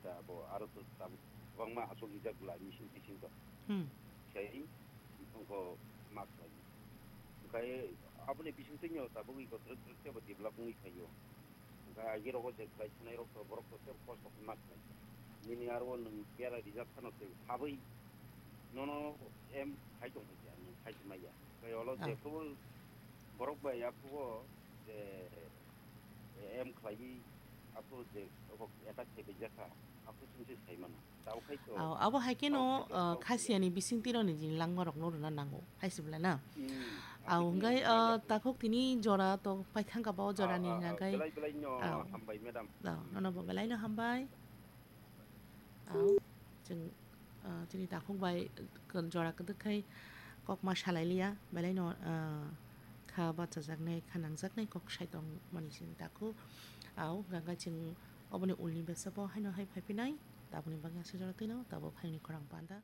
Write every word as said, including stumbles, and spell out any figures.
ta abo aro to tabuk kwbangma aswk rijak bwla emission bising to. Hmm. Sai wngkho ma khlai. Onkhe aboni bisingtwi no tabuk iko twrwk twrwk teibo develop wngwi phaio. Onkhe agi rogo je khlai thanai rok to borok to teibo kosto khe ma khlai. Nini aro nwng bera rijak phano tei habwi nono em khai tong kha, nwng khai tong maya. Onkhe olo Ah. Jephru borok bai aphuru je em khlaiwi aphuru je abo attack khai bai jakha, aphuru chwng se sai mano. Tabuk khai to Au, abo hai khe no, tabuk khai to ah, khasiani bisingtwi roni jini langma rok no rwna nango, hai se bwla na? Hmm, Au, aphuru hwnkhe, chwng ah, maya. Takhuk tini jora to paithang kha ba o Ah, jorani ah, ah, hwnkhe. Belai belai no Au. Hambai, madam. Au, nono bo belai no hambai. Au, chwng, ah, chini takhuk bai, ah, jora kwdwk khai kok ma salai liya, belai no, ah, kha bachajaknai, kha nangjaknai kok sai tong mani chini takhuk. Au, hwnkhe chwng oboni ulni besa bo haino hai phai phinai, tabukni bagwi aswk jora twino, tabuk haini khorang panda.